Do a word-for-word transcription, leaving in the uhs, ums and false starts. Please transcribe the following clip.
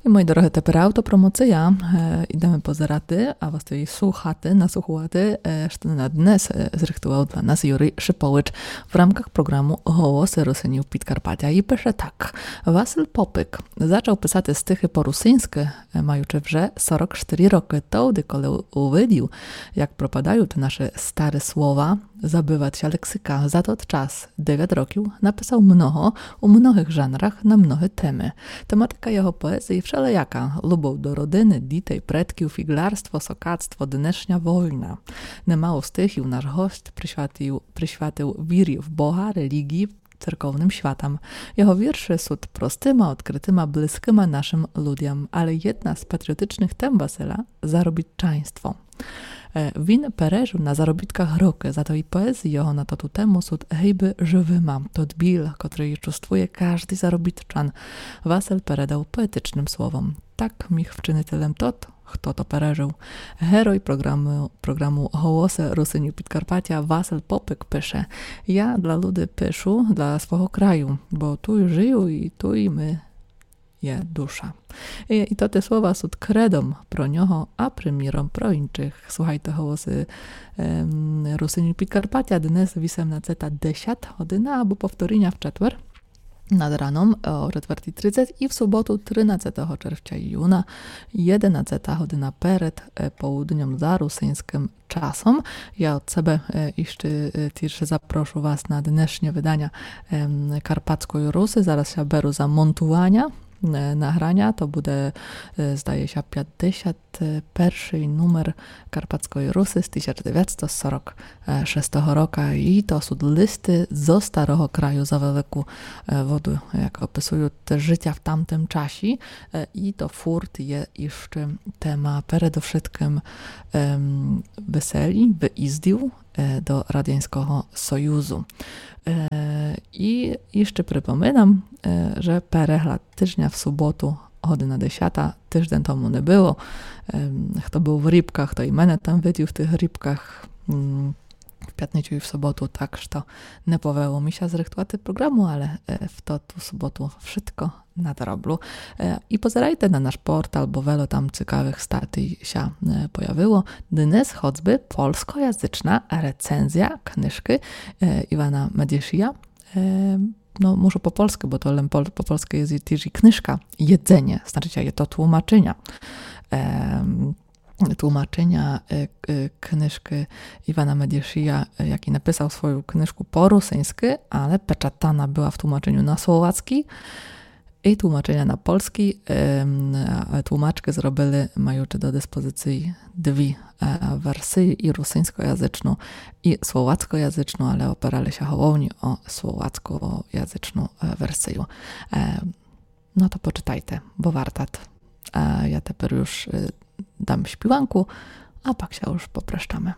І, мої дорогі, тепер автопромоція. Е, ідеме позирати, а власне і слухати, наслуховати, е, што на днес, е, зрыхтовав для нас Юрій Шипович в рамках програму Голосы Русинів Підкарпатя. І пише так. Василь Попик зачав писати стихы по-русиньскы, е, маючы вже сорок штыри рокы, товды, коли у-, увидів, як пропадають наші старі слова, забывать ся лексика. За тот час, девять років, написав много, у многых жанрах, на многы темы. Тематика його поезії вшелияка: любов до родины, дітей, предків, фіґлярство, сокацтво, днешня война. Немало стихів наш гость присвятив, присвятив вірі в Бога, релігії, церковным святам. Його віршы суть простыма, одкрытыма, близкыма нашым людям, але єдна з патріотичных тем Василя — заробітчанство. Е, він пережыв на заробітках рокы, зато і поезії його на тоту тему суть гибы жывыма. Тот біль, котрый чувствує каждый заробітчан, Василь передав поетичным словом. Так міг вчинити лем тот, хто то пережыв. Герой програмы, програмы Голосы Русинів Підкарпатя Василь Попик пише: Я для люди пишу, для свого краю, бо туй жыю і туй ми є душа. І, і тоты слова суть кредом про нього, а приміром про іншых. Слухайте Голосы, ем, Русинів Підкарпатя днес вісемнадцета десят година або повторіня в четвер над раном, е, о четвертій тридцять і в суботу, тринадцятого червця, юна, єдинадцета година перед, е, полудньом за русиньскым часом. Я од себе, е, іщы, е, тіж запрошу вас на днешнє выданя, ем, Карпатської Русы. Зараз ся беру за монтуваня, е, награня. То буде, е, здає ся, пятдесят першый нумер Карпатської Русы з тисяч девятсто сорок шестого рока. І то суть листы зо старого краю за велику, е, воду, як описують життя в тамтым часі. Е, і то фурт є іщы тема передовшыткым, ем, веселі, выїздів, е, до Радянського Союзу. Е, і іщы припоминам, е, же перегляд тыжня в суботу, година десята, тыждень тому не было. Ем, хто быв в Рібках, то і мене там видів в тых Рібках, м, в пятницю і в суботу, так што не повело мі ся зрыхтувати програму, але, е, в тоту суботу вшытко надроблю. Е, і позирайте на наш портал, бо вело там цікавых статій ся, е, появило. Днес хоцбы польскоязычна рецензія книжкы, е, Івана Медішія. Е, но, мушу по польскы, бо то лем пол-, по польскы є тіж і книжка. Єдзеніє, значыт, є то тлумачыня. Ем, тлумачыня, е, к-, е, книжкы Івана Медішія, е, якій написав свою книжку по русиньскы, але печатана была в тлумачыню на словацкій і тлумачыня на польскій. Ем, е, тлумачкы зробили, маючы до диспозиції дві, е, версії, і русиньскоязычну, і словацкоязычну, але опирали ся головні о словацкоязычну, е, версію. Е, Но то почытайте, бо вартат. А я тепер уж, е, дам співанку, а пак ся уж попрощаме.